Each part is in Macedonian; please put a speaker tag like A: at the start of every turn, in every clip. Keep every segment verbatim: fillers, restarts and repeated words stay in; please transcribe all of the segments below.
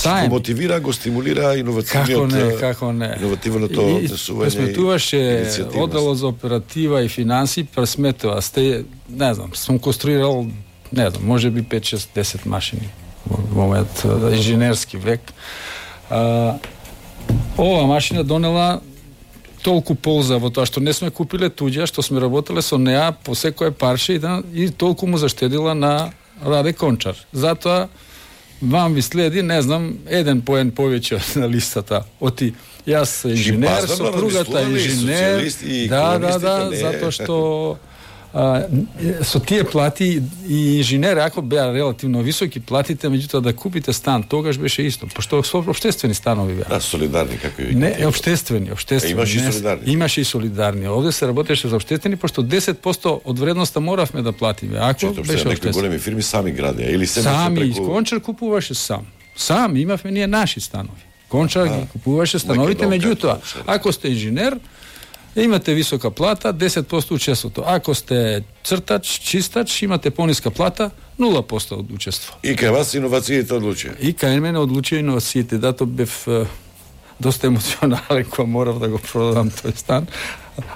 A: Саем.
B: Го мотивира, го стимулира иновативниот.
A: Како не, како не.
B: Иновативното однесување.
A: Пресметуваше одделот за оператива и финанси, пресметува. Сте, не знам, сум конструирал, не знам, може би пет, шест, десет машини во мојот инженерски век. А, ова машина донела толку полза во тоа што не сме купиле туѓа, што сме работеле со неа по секое парче и, да, и толку му заштедила на Раде Кончар. Затоа вам ви следи, не знам, еден поен повеќе на листата. Оти, јас инженер, сопругата инженер, да, да, да, затоа што а, со тие плати и инженери, ако беа релативно високи платите, меѓутоа да купите стан, тогаш беше исто, пошто со општествени станови беа.
B: Да, солидарни, како и
A: не, општествени, општествени.
B: Имаше и солидарни.
A: Имаше и солидарни. Овде се работеше за општествени, пошто десет проценти од вредноста моравме да платиме. Ако
B: Чето,
A: беше
B: некои големи фирми сами градеа или се
A: сами,
B: преку...
A: Кончар купуваше сам. Сам имавме ние наши станови. Кончар ги купуваше становите, меѓутоа, ако сте инженер, имате висока плата, десет проценти учеството. Ако сте цртач, чистач, имате пониска плата, нула проценти од учество.
B: И кај вас иновациите одлучија?
A: И кај мене одлучија иновациите. Дато бев е, доста емоционален кога морав да го продадам тој стан,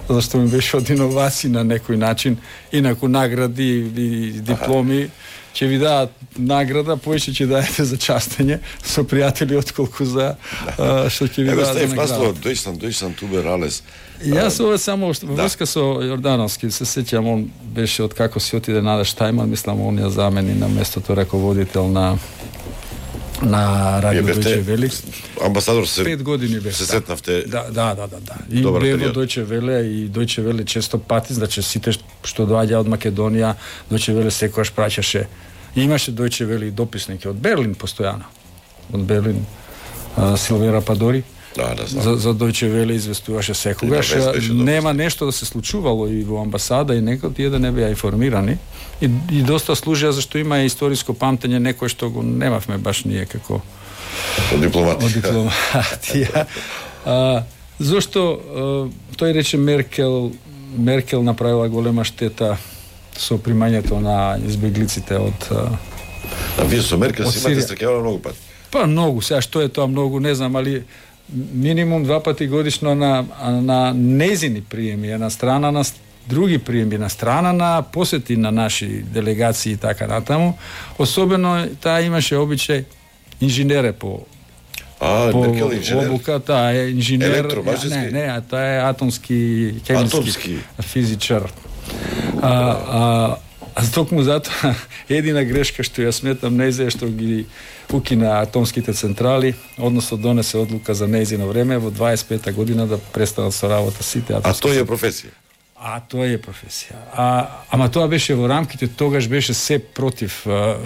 A: зашто ми беше од иновации на некој начин, инаку награди и дипломи, ќе ви дадат награда, поише ќе даете за частење со пријатели отколку за а, што ќе ви
B: Ево,
A: дадат за награда.
B: Ево, Стеф, Дојсан, Дојсан Тубералес.
A: Јас ова само во врска со Јордановски, се сеќам, он беше од како си отиде Нада Штајман, мислам он ја замени на местото раководител на на Радио Дојче Вели.
B: Амбасадор се
A: пет години беше.
B: Се сетнавте.
A: Да, да, да, да, да. И бе во Дојче Веле и Дојче Веле често пати, значи сите што доаѓа од Македонија, Дојче Веле секогаш праќаше. Имаше Дојче Веле и дописники од Берлин постојано. Од Берлин а, Силвера Падори.
B: Да, да, знам.
A: За, за Дојче Веле известуваше секогаш. Да, нема нешто да се случувало и во амбасада и некој тие да не беа информирани. И, и доста служија зашто има историско памтење некој што го немавме баш ние како
B: од дипломати.
A: Од дипломатија. а, зошто а, тој рече Меркел Меркел направила голема штета со примањето на избеглиците од
B: А вие со Меркел си имате стрекавано многу пати?
A: Па многу, сега што е тоа многу, не знам, али минимум два пати годишно на, на незини приеми, една страна на други приеми, на страна на посети на наши делегации и така натаму. Особено таа имаше обичај инженере по
B: А,
A: по
B: Меркел инженер.
A: Обука, таа е инженер.
B: Електромажески?
A: Не, не, таа е атомски, хемиски,
B: атомски
A: физичар. А, а, а токму затоа едина грешка што ја сметам нејзе што ги укина атомските централи, односно донесе одлука за нејзино време во дваесет и пета година да престанат со работа сите атомски.
B: А тоа е професија.
A: А тоа е професија. А ама тоа беше во рамките, тогаш беше се против. А,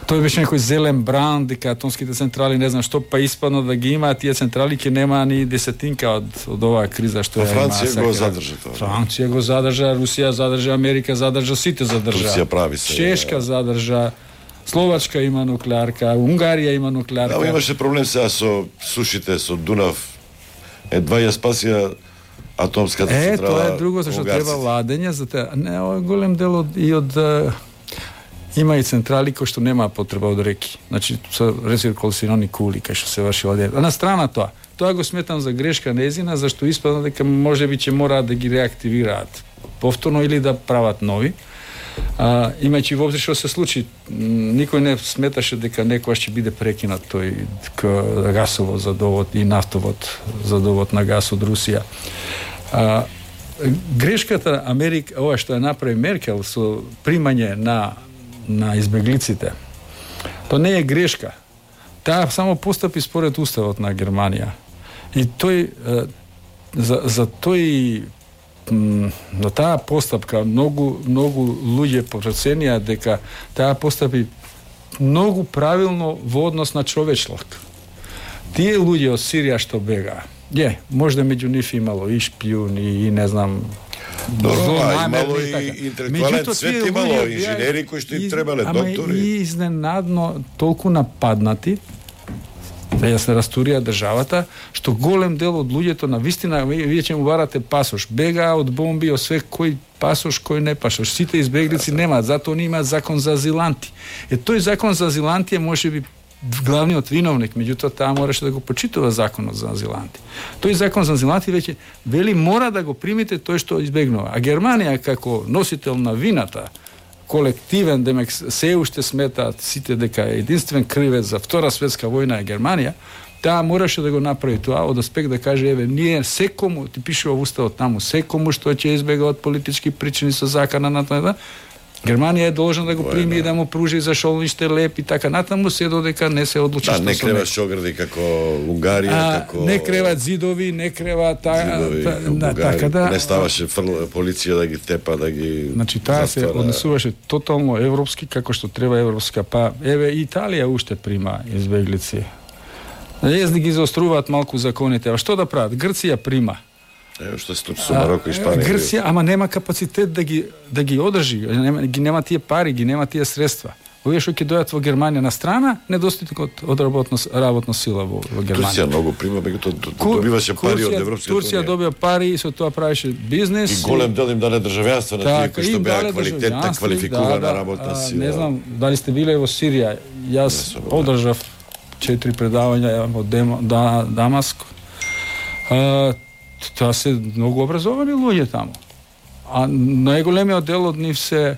A: тој беше некој зелен бранд дека атомските централи не знам што, па испадно да ги имаат тие централи ќе нема ни десетинка од од оваа криза што
B: ја има. Франција го
A: задржа
B: тоа.
A: Франција го задржа, Русија задржа, Америка задржа, сите задржа.
B: Русија прави се.
A: Чешка задржа, Словачка има нуклеарка, Унгарија има нуклеарка.
B: Да, имаше проблем сега со сушите со Дунав. Едва ја спасија атомската
A: е,
B: централа.
A: Е, тоа е друго зашто треба ладење за те. Не, голем дел од и од има и централи кои што нема потреба од реки. Значи со рециркулациони кули кај што се врши ладење. А на страна тоа, тоа го сметам за грешка нејзина, зашто испадна дека можеби ќе мораат да ги реактивираат повторно или да прават нови. А, имајќи воопшто што се случи, никој не сметаше дека некогаш ќе биде прекинат тој гасовод за довод и нафтовод за довод на газ од Русија. А, грешката Америка, ова што ја направи Меркел со примање на на избеглиците, тоа не е грешка. Таа само постапи според уставот на Германија. И тој за, за тој на таа постапка многу многу луѓе проценија дека таа постапи многу правилно во однос на човечлок. Тие луѓе од Сирија што бега, е, можда меѓу нив имало и шпиуни и не знам.
B: Добро, а имало и интелектуален свет, имало инженери кои што им требале, доктори.
A: Ама и изненадно толку нападнати да ја се растурија државата, што голем дел од луѓето на вистина, вие ќе му барате пасош, бега од бомби, од све кој пасош, кој не пасош. Сите избеглици немаат, затоа они имаат закон за азиланти. Е тој закон за азиланти е можеби главниот виновник, меѓутоа таа мораше да го почитува законот за азиланти. Тој закон за азиланти веќе вели мора да го примите тој што избегнува. А Германија како носител на вината, колективен, демек се уште сметаат сите дека единствен кривец за Втора светска војна е Германија, таа мораше да го направи тоа, од аспект да каже, еве, ние секому, ти пише во уставот таму, секому што ќе избега од политички причини со закана на тоа, Германија е должна да го прими и да му пружи за шолниште леп и така натаму, се додека не се одлучи
B: да,
A: што
B: не креват шогради како Унгарија,
A: а,
B: како
A: не креват зидови, не креват та,
B: зидови,
A: та, да, така да
B: не ставаше фрл, полиција да ги тепа, да ги
A: значи таа се однесуваше тотално европски како што треба европска, па еве Италија уште прима избеглици. Езди ги заоструваат малку законите, а што да прават? Грција прима.
B: Ево што се случи со Мароко и Шпанија.
A: Грција, ама нема капацитет да ги да ги одржи, нема ги нема тие пари, ги нема тие средства. Овие што ќе дојдат во Германија на страна, недостатокот од работна работна сила во, во Германија.
B: Турција многу прима, меѓутоа добиваше пари од Европската
A: Турција
B: унија.
A: добија пари и со тоа правеше бизнес.
B: И голем дел им даде државјанство на тие кои што беа квалитетна, квалификувана
A: да,
B: работна сила.
A: Не знам дали сте биле во Сирија. Јас одржав четири предавања во да, Дамаск. А, тоа се многу образовани луѓе таму. А најголемиот дел од нив се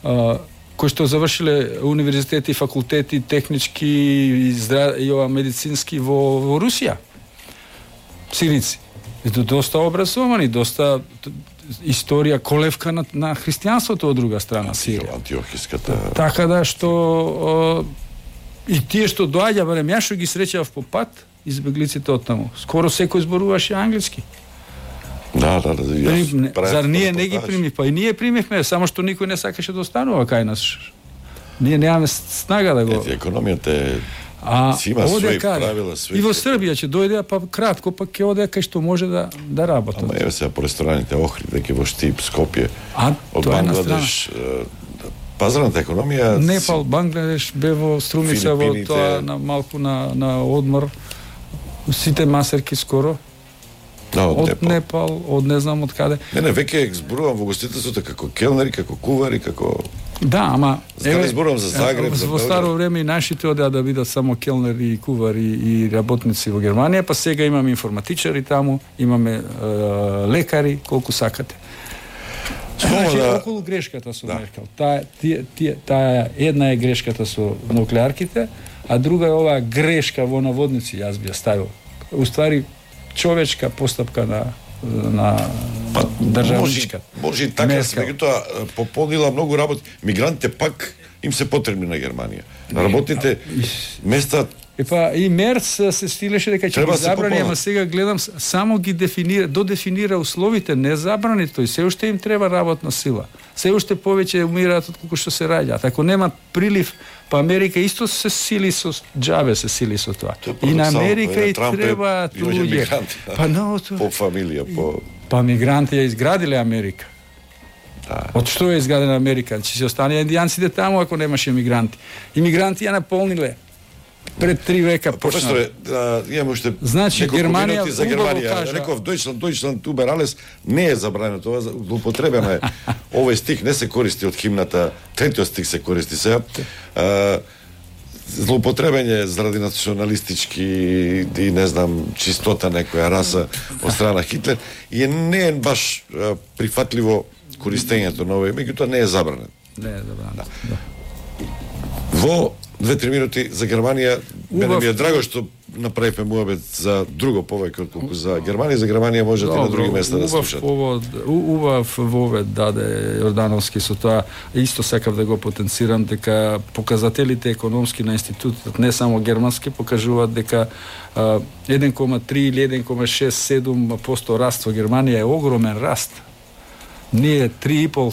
A: а, кои што завршиле универзитети, факултети, технички и, здра... и ова медицински во, во Русија. Сирици. И доста образовани, доста историја, колевка на, на христијанството од друга страна Сирија.
B: Антиохиската.
A: Така да што о, и тие што доаѓа, барем ја што ги среќав по пат, избеглиците од таму. Скоро секој зборуваше англиски.
B: Да, да, да.
A: Не, зар ние не ги примив? Па и ние примивме, само што никој не сакаше да останува кај нас. Ние немаме снага да го...
B: Ете, економијата е...
A: А,
B: си има своји правила, своји...
A: И во Србија ќе дојде, па кратко, па ќе оде кај што може да, да работат.
B: Ама еве сега по рестораните Охрид, дека во Штип, Скопје,
A: а,
B: од Бангладеш, пазарната економија...
A: Непал, Бангладеш, бе во Струмица, во тоа, на, малку на, на одмор. Сите масерки скоро.
B: Да, од,
A: од
B: Непал.
A: Непал, од не знам од каде.
B: Не, не, веќе зборувам во гостителството како келнери, како кувари, како...
A: Да, ама...
B: Еве, зборувам за Загреб,
A: е,
B: за
A: во старо време и нашите одеа да бидат само келнери и кувари и работници во Германија, па сега имаме информатичари таму, имаме е, лекари, колку сакате. Значи, да... околу грешката со да. Меркел. Таа, тие, тие, таа една е грешката со нуклеарките, а друга е оваа грешка во наводници, јас би ја ставил. Уствари, човечка постапка на на
B: па,
A: државничка.
B: Може, може и така, меѓутоа пополнила многу работи. Мигрантите пак им се потребни на Германија. Работните места...
A: И па и Мерц се стилеше дека ќе ги забрани, ама сега гледам само ги дефинира, додефинира условите, не забрани тој, се уште им треба работна сила. Се уште повеќе умираат од колку што се раѓаат. Ако нема прилив, па Америка исто се сили со џабе се сили со тоа. И на Америка и треба луѓе. Па но
B: по фамилија, по
A: па мигранти ја изградиле Америка.
B: Да.
A: Од што е изградена Америка? Ќе се останеа индијанците таму ако немаше мигранти. Имигранти ја наполниле. Пред три века почна.
B: Професоре, да, имаме уште
A: значи Германија
B: за Германија. Реков Дојчланд, Дојчланд убер alles не е забрано тоа, злоупотребено е. Овој стих не се користи од химната, третиот стих се користи сега. Злоупотребење заради националистички и не знам чистота некоја раса од страна Хитлер и не е баш прифатливо користењето на овој, меѓутоа не е забранет.
A: Не е забранет. Да. Да.
B: Во две-три минути за Германија, мене ми е драго што направивме муабет за друго повеќе отколку за Германија. За Германија можете Добро, на други места да слушате.
A: Убав вовед даде Јордановски со тоа. Исто сакав да го потенцирам дека показателите економски на институтот, не само германски, покажуваат дека еден кома три или еден кома шест седум проценти раст во Германија е огромен раст. Ние три и пол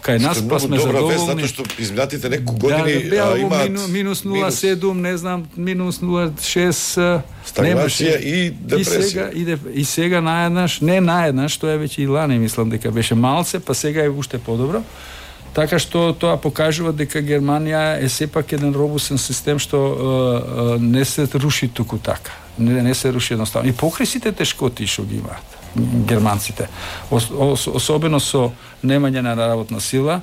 A: кај нас па сме задоволни.
B: Затоа што изминатите неколку години
A: да,
B: а, имаат
A: мину, минус нула целу седум, не знам, минус нула целу шест
B: стагнација и депресија.
A: И сега и, деп, и сега наеднаш, не наеднаш, тоа е веќе и лани, мислам дека беше малце, па сега е уште подобро. Така што тоа покажува дека Германија е сепак еден робусен систем што е, е, не се руши туку така. Не, не се руши едноставно. И покрај сите тешкоти што ги имаат германците, ос, ос, особено со немање на работна сила,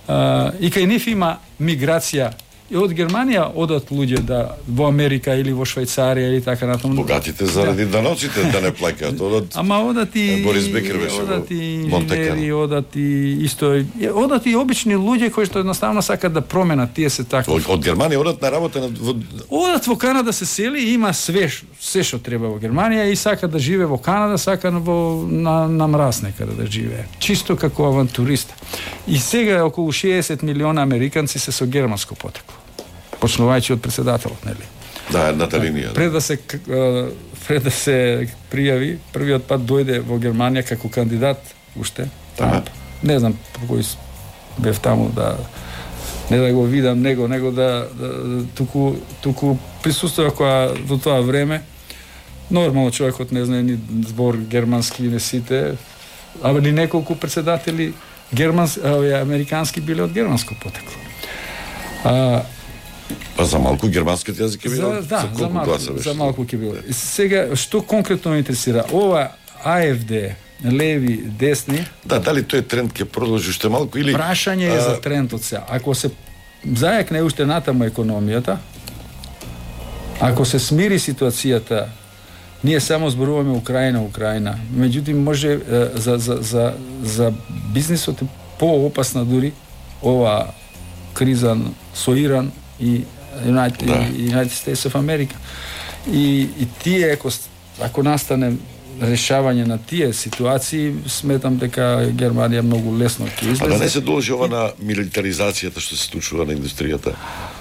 A: а, и кај нив има миграција и од Германија одат луѓе да во Америка или во Швајцарија или така натаму.
B: Богатите заради да. даноците да не плаќаат, одат.
A: Ама одат и
B: Борис Бекер беше
A: одат и инженери, одат и исто, одат и обични луѓе кои што едноставно сакаат да променат, тие се така.
B: Од, од Германија одат на работа на во...
A: Одат во Канада се сели, има све се што треба во Германија и сака да живее во Канада, сака во на, на мраз некаде да живее. Чисто како авантурист. И сега околу шеесет милиона американци се со германско потекло. Почнувајќи од председателот, нели?
B: Да, едната линија.
A: Пред да се пред да се пријави, првиот пат дојде во Германија како кандидат уште.
B: Ага.
A: Не знам по кој бев таму да не да го видам него, него да, да туку туку присуствува кога во тоа време нормално човекот не знае ни збор германски не сите, а ни неколку председатели германски, американски биле од германско потекло. А
B: Па за малку германскиот јазик е било,
A: за, да,
B: за колку
A: малку,
B: гласа беше?
A: За малку ќе било. Да. Сега, што конкретно ме интересира? Ова АФД, леви, десни...
B: Да, дали тој тренд ќе продолжи уште малку или...
A: Прашање е а... за трендот сега. Ако се зајакне уште натаму економијата, ако се смири ситуацијата, ние само зборуваме Украина, Украина. Меѓутоа може за, за, за, за бизнисот е поопасна дури ова криза со Иран и United, да. United States of America. И, и тие, ако, ако настане решавање на тие ситуации, сметам дека Германија многу лесно ќе излезе.
B: А да не се должи ова на милитаризацијата што се случува на индустријата?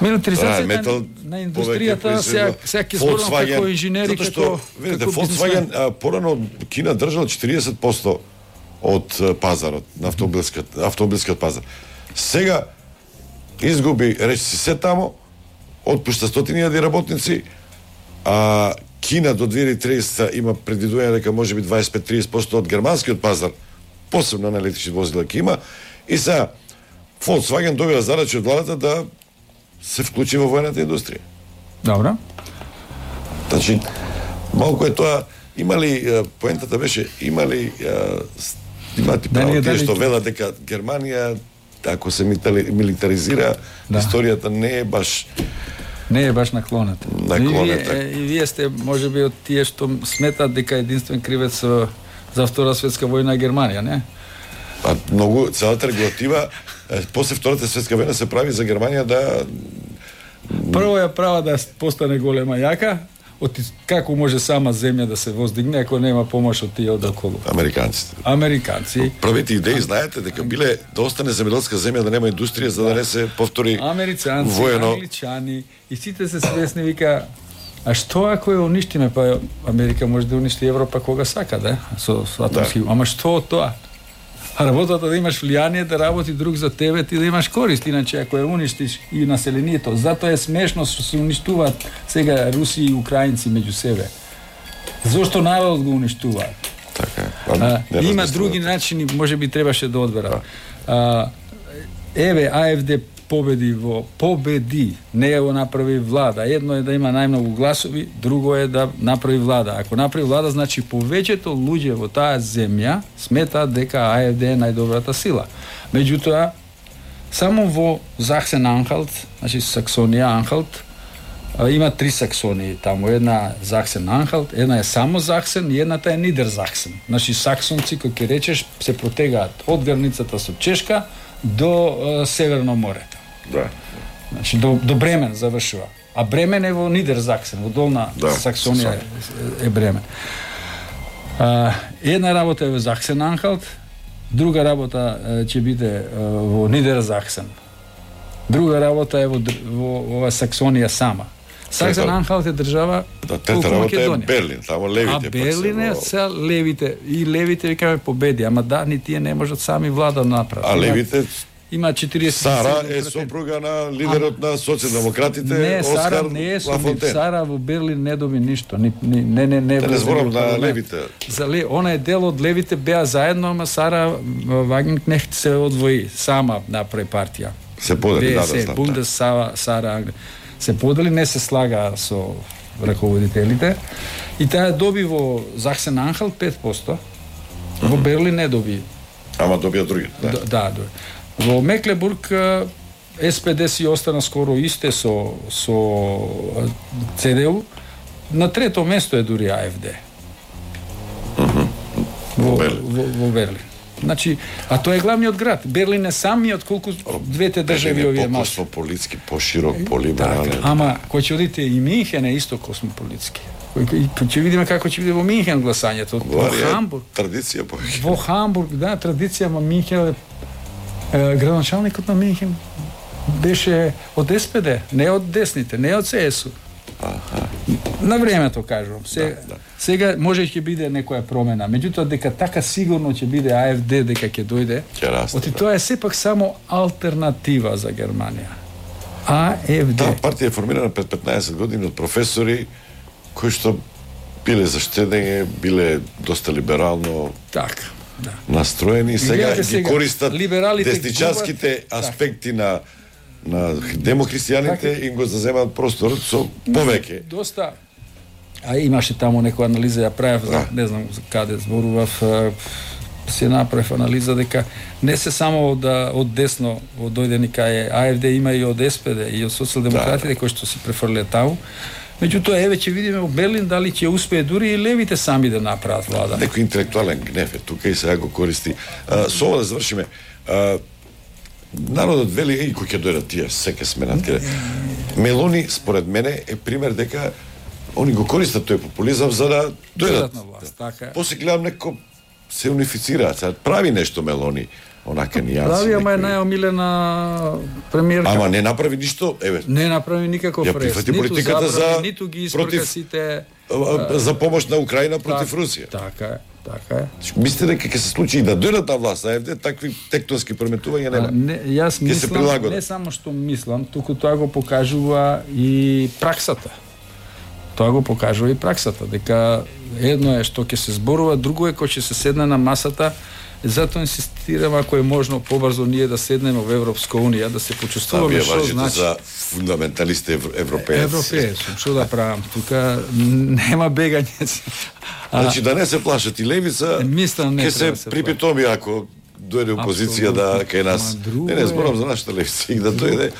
A: Милитаризацијата да, метал, на индустријата, сега, сега ќе зборам како инженери, како...
B: Видите, Volkswagen порано Кина држал четириесет проценти од пазарот, на автомобилскиот, автомобилскиот пазар. Сега изгуби, речи си се тамо, отпушта стотини илјади работници, а Кина до две илјади и триесета има предвидување дека може би дваесет и пет до триесет проценти од германскиот пазар, посебно на електрични возила ќе има, и сега Volkswagen добива задача од владата да се вклучи во војната индустрија.
A: Добро.
B: Значи, малку е тоа, има ли, поентата беше, има ли, имате право тие што велат дека Германија, ако се милитаризира, да. Историјата не е баш...
A: Не е баш наклонета.
B: Наклонета.
A: И вие, и вие сте, може би, од тие што сметат дека единствен кривец за Втора светска војна е Германија, не?
B: Па, многу, целата регулатива, после Втората светска војна се прави за Германија да...
A: Прво ја права да постане голема јака, од како може сама земја да се воздигне ако нема помош од тие од околу.
B: Американците.
A: Американци.
B: Првите идеи, знаете, дека биле да остане земјоделска земја, да нема индустрија, за да не се повтори
A: Американци,
B: воено...
A: англичани, и сите се свесни, вика, а што ако ја уништиме, па Америка може да уништи Европа кога сака, да? Со, со атомски, да. Ама што од тоа? А работата да имаш влијание, да работи друг за тебе, ти да имаш корист, иначе ако ја уништиш и населението. Затоа е смешно што се уништуваат сега Руси и Украинци меѓу себе. Зошто народот го уништуваат?
B: Така
A: а, има други начини, може би требаше да одберат. А, еве, АФД победи во победи, не го направи влада. Едно е да има најмногу гласови, друго е да направи влада. Ако направи влада, значи повеќето луѓе во таа земја сметаат дека АФД е најдобрата сила. Меѓутоа, само во Саксен-Анхалт, значи Саксонија-Анхалт, има три Саксонии таму, една Саксен-Анхалт, една е само Саксен и едната е Нидерсаксен. Значи саксонци, кои ќе речеш, се протегаат од границата со Чешка до е, Северно море.
B: Да.
A: Значи до, до Бремен завршува. А Бремен е во Нидерсаксен, во долна да, Саксонија е, е Бремен. А, една работа е во Саксен-Анхалт, друга работа е, ќе биде е, во Нидерсаксен. Друга работа е во, во, во Саксонија сама. Саксен-Анхалт е држава
B: да, трета работа е Берлин, таму левите.
A: А Берлин е се левите и левите викаме победи, ама да, ни тие не можат сами влада да направат.
B: А левите
A: има четириесет
B: Сара е сопруга на лидерот а, на социјалдемократите
A: не,
B: Оскар
A: Сара не е
B: Лафонтен.
A: Сара во Берлин не доби ништо. Ни, ни, не не не.
B: Те не зборам на левите.
A: За ле, она е дел од левите, беа заедно, ама Сара Вагенкнехт се одвои, сама направи партија.
B: Се подели, да, да, знам.
A: Бундес Сара, Сара се подели, не се слага со раководителите. И таа доби во Саксен-Анхалт пет проценти. Во mm-hmm. Берлин не доби.
B: Ама добија други, да.
A: Да, да. Во Меклебург С П Д си остана скоро исте со со Ц Д У. На трето место е дури А Ф Д.
B: Uh-huh.
A: Во, во, во Берлин. Значи, а тоа е главниот град. Берлин е самиот колку двете држави овие
B: малку. Космополитски, поширок, полиберален.
A: Так, ама кој ќе одите и Минхен е исто космополитски. Ќе видиме како ќе биде во Минхен гласањето. Во Хамбург.
B: Традиција повеќе.
A: Во Хамбург, да, традиција, ама Минхен е, градоначалникот на Минхен беше од С П Д, не од десните, не од С С У.
B: Аха.
A: На времето кажувам. Сега,
B: да, да.
A: сега може ќе биде некоја промена, меѓутоа дека така сигурно ќе биде А Ф Д дека ќе дојде.
B: Ќе расте.
A: Оти тоа е сепак само алтернатива за Германија. А Ф Д.
B: Таа партија е формирана пред петнаесет години од професори кои што биле за штедење, биле доста либерално
A: така, да.
B: настроени, сега ги
A: сега,
B: користат десничарските
A: губат,
B: аспекти так. на на демохристијаните и го заземаат просторот со повеќе.
A: Доста. А имаше таму некоја анализа, ја правев, да. Не знам за каде зборував, се направив анализа дека не се само од, од десно, од дојдени кај А Ф Д, има и од С П Д и од социјалдемократите, да, кои што се префрлеа таму. Меѓутоа, еве ќе видиме во Берлин дали ќе успее дури и левите сами да направат влада.
B: Некој интелектуален гнев е тука и сега го користи. А, со ова да завршиме. А, народот вели, и кој ќе дојдат тие, секе сме на тие. Мелони, според мене, е пример дека они го користат тој популизам за да дојдат
A: на власт. Така.
B: После гледам неко се унифицираат, сега прави нешто Мелони, онака нијанси.
A: Прави, ама е најомилена премиерка.
B: Ама не направи ништо, еве.
A: Не направи никаков
B: рез. Ја прифати политиката за
A: ниту ги испрка сите
B: за помош на Украина против
A: так,
B: Русија.
A: Така е, така е.
B: Мислите дека ќе се случи и да дојдат на власт, А Ф Д, такви тектонски преметувања нема.
A: Не, јас мислам, не само што мислам, туку тоа го покажува и праксата. Тоа го покажува и праксата, дека едно е што ќе се зборува, друго е кој ќе се седне на масата. Затоа инсистирам, ако е можно побрзо ние да седнеме во Европска унија, да се почувствуваме што значи
B: за фундаменталисти европеец.
A: Европеец, што да правам? Тука нема бегање.
B: Значи да не се плашат и левица, ќе се,
A: се
B: припитоми ако дојде опозиција да кај нас. Не, не зборам за нашата левица и да дојде.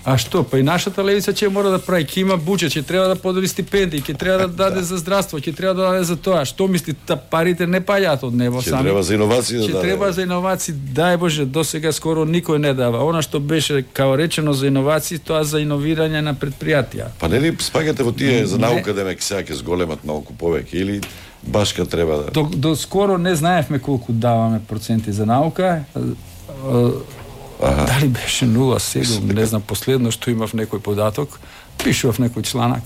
A: А што, па и нашата левица ќе мора да прави, ќе има буџет, ќе треба да подели стипендии, ќе треба да даде за здравство, ќе треба да даде за тоа. Што мисли, та парите не паѓаат од небо сами.
B: Ќе треба за иновации да
A: даде.
B: Ќе
A: треба за иновации, дај Боже, досега скоро никој не дава. Она што беше као речено за иновации, тоа за иновирање на предпријатија.
B: Па нели спаѓате во тие за наука да ме сега ќе зголемат малку повеќе или башка треба да.
A: До, до скоро не знаевме колку даваме проценти за наука. Аха. Дали беше нула седум, не знам, последно што имав некој податок, пишував некој чланак.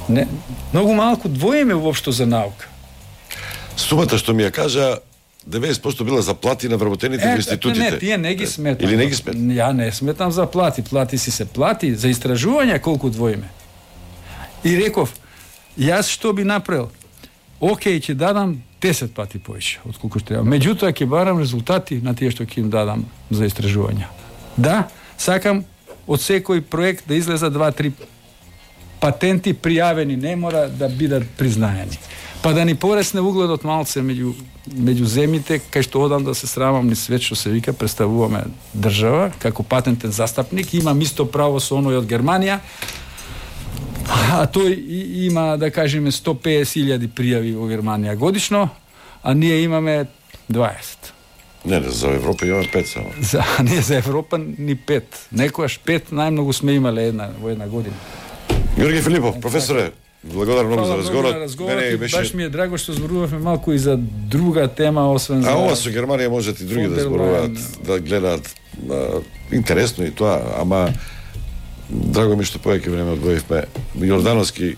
A: Не, многу малку двоиме воопшто за наука.
B: Сумата што ми ја кажа, деветдесет проценти била за плати на вработените
A: е,
B: во институтите.
A: Не, тие не ги сметам.
B: Или не ги сметам?
A: Ја не сметам за плати, плати си се плати, за истражување колку двоиме. И реков, јас што би направил? Океј, ќе дадам десет пати повеќе од колку што треба. Меѓутоа ќе барам резултати на тие што ќе им дадам за истражувања. Да, сакам од секој проект да излеза два-три патенти пријавени, не мора да бидат признаени. Па да ни поресне угледот малце меѓу меѓу земјите, кај што одам да се срамам ни свет што се вика, представуваме држава како патентен застапник, имам исто право со оној од Германија. А тој има, да кажеме, сто и песет илјади пријави во Германија годишно, а ние имаме дваесет.
B: Не, не, за Европа имаме пет само.
A: За, не, за Европа ни пет. Некојаш пет, најмногу сме имале една, во една година.
B: Георги Филипов, професоре, благодарам многу за разговорот.
A: Мене беше... Баш ми е драго што зборувавме малку и за друга тема, освен за...
B: А ова со Германија можат и други да зборуваат, да гледаат. А, интересно и тоа, ама драго ми што повеќе време одвоивме. Јордановски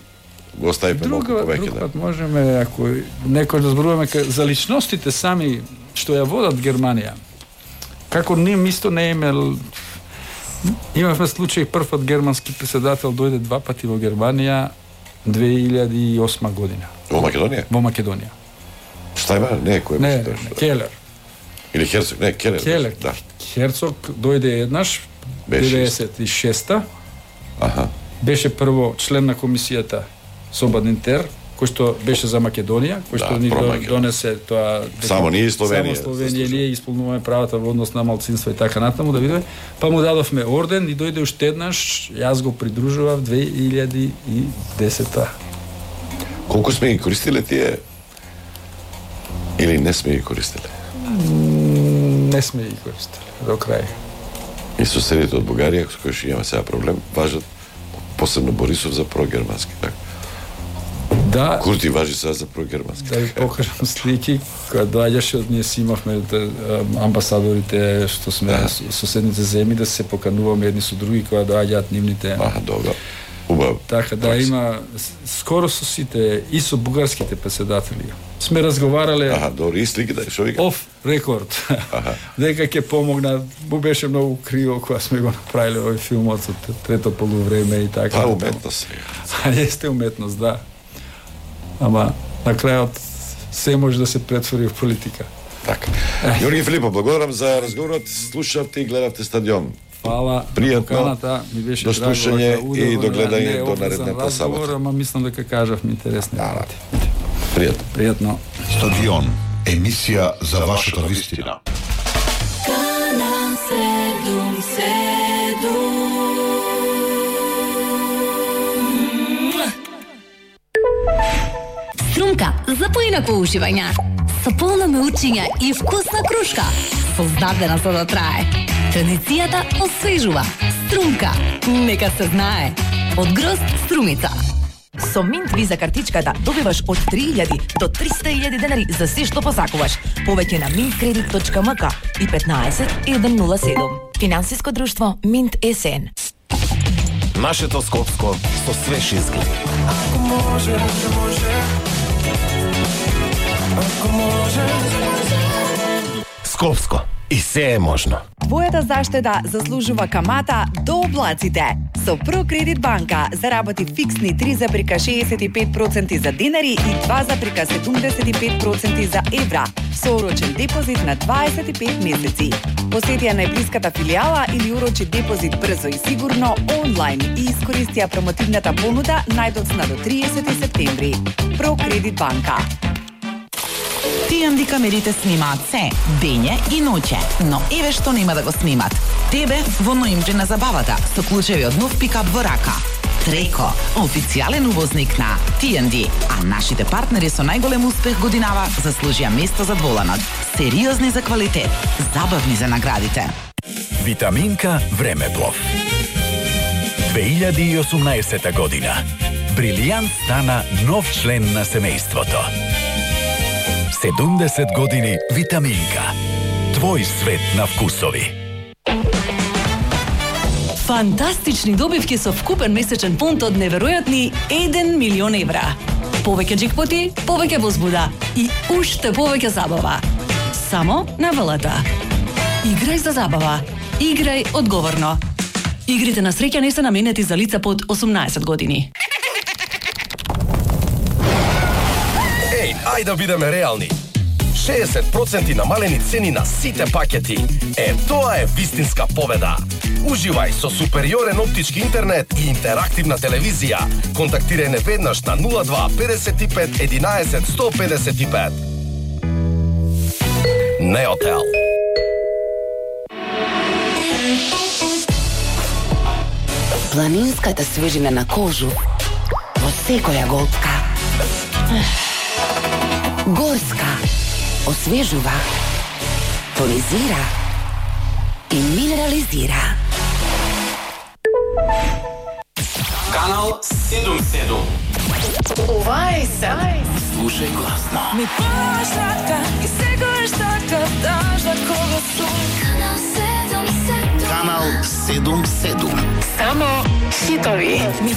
B: го оставивме малку повеќе.
A: Друг пат можеме, ако некој да зборуваме за личностите сами што ја водат Германија. Како ним исто не имел... Имавме случај, прв пат германски председател дојде два пати во Германија две илјади и осма година.
B: Во Македонија?
A: Во Македонија.
B: Шта има? Не, кој
A: не, не, не, Келер.
B: Или Херцог? Не, Келер.
A: Келер.
B: Да.
A: Херцог дојде еднаш, деветдесет и шеста.
B: Аха.
A: Беше прво член на комисијата со Бадинтер, кој што беше за Македонија, кој што
B: Да,
A: ни
B: про-Македонија.
A: донесе тоа
B: Само ние и Словенија.
A: Само Словенија ние исполнуваме правата во однос на малцинства и така натаму, да видиме. Па му дадовме орден и дојде уште еднаш, јас го придружував две илјади и десета.
B: Колку сме ги користиле тие или не сме ги користиле?
A: Не сме ги користили до крај.
B: И соседите од Бугарија, со кои што имаме сега проблем, важат посебно Борисов за прогермански, така?
A: Да,
B: Курти важи сега за прогермански.
A: да ви покажам слики, кога доаѓаше од ние си имавме да, амбасадорите што сме
B: Да.
A: соседните земји да се покануваме едни со други кога доаѓаат нивните.
B: Аха, добро. Убаво.
A: Така да има скоро со сите и со бугарските претседатели. Сме разговарале
B: Аха, добро, и сликите, што вика?
A: оф рекорд.
B: Аха.
A: Дека ќе помогна, му беше многу криво кога сме го направиле овој филмот со трето полувреме и така.
B: Па, уметност сега.
A: А јесте уметност, да. Ама на крајот се може да се претвори в политика.
B: Така. Јорги Филипов, благодарам за разговорот. Слушавте и гледавте Стадион.
A: Фала.
B: Пријатно.
A: Поканата, ми беше
B: До
A: драго
B: слушање
A: дека
B: и
A: удобно,
B: до гледање
A: не
B: до
A: обврзан
B: наредната
A: разговор,
B: сабота.
A: Ама мислам дека кажавме интересни работи.
B: Пријатно.
A: Пријатно.
C: Стадион, емисија за вашата вистина.
D: Канал седум седум.
E: Струмка за поинако уживање. Со полно меучиња и вкусна крушка. Создадена за да трае. Традицијата освежува. Струмка. Нека се знае. Од Грозд Струмица.
F: Со Минт Виза картичката добиваш од три илјади до триста илјади денари за се што посакуваш. Повеќе на mint credit точка m k и петнаесет еден нула седум. Финансиско друштво Минт С Н.
G: Нашето Скопско со свеж изглед. Ако може, може. Ако може, Скопско. И се е можно.
F: Твојата заштеда заслужува камата до облаците. Со Прокредит банка заработи фиксни три запирка шеесет и пет проценти за динари и два запирка седумдесет и пет проценти за евра. Со орочен депозит на дваесет и пет месеци. Посети ја најблиската филијала или урочи депозит брзо и сигурно онлайн и искористија промотивната понуда најдоцна до триесети септември. Прокредит банка.
H: Ти Ен Ди камерите снимаат се, дење и ноќе, но еве што нема да го снимат. Тебе во ноември на забавата со клучеви од нов пикап во рака. Треко, официјален увозник на Ти Ен Ди, а нашите партнери со најголем успех годинава заслужија место за дволанот. Сериозни за квалитет, забавни за наградите.
I: Витаминка Времеплов. две илјади и осумнаесета година. Брилијант стана нов член на семејството. седумдесет години Витаминка. Твој свет на вкусови.
J: Фантастични добивки со вкупен месечен фонд од неверојатни еден милион евра. Повеќе джекпоти, повеќе возбуда и уште повеќе забава. Само на ВЛТ. Играј за забава. Играј одговорно. Игрите на среќа не се наменети за лица под осумнаесет години.
G: Еј, ајде да бидеме реални. шеесет проценти намалени цени на сите пакети. Е, тоа е вистинска победа. Уживај со супериорен оптички интернет и интерактивна телевизија. Контактирај не веднаш на нула два петдесет и пет единаесет сто педесет и пет. Неотел.
K: Планинската свежина на кожу во секоја голтка. Горска освежува, тонизира и минерализира.
L: Канал седум седум.
D: Ова е се.
L: Слушај гласно.
D: Ми пашата и секојаш така даш да кога сум. Канал седум седум.
C: Канал седум седум.
D: Само хитови. Ми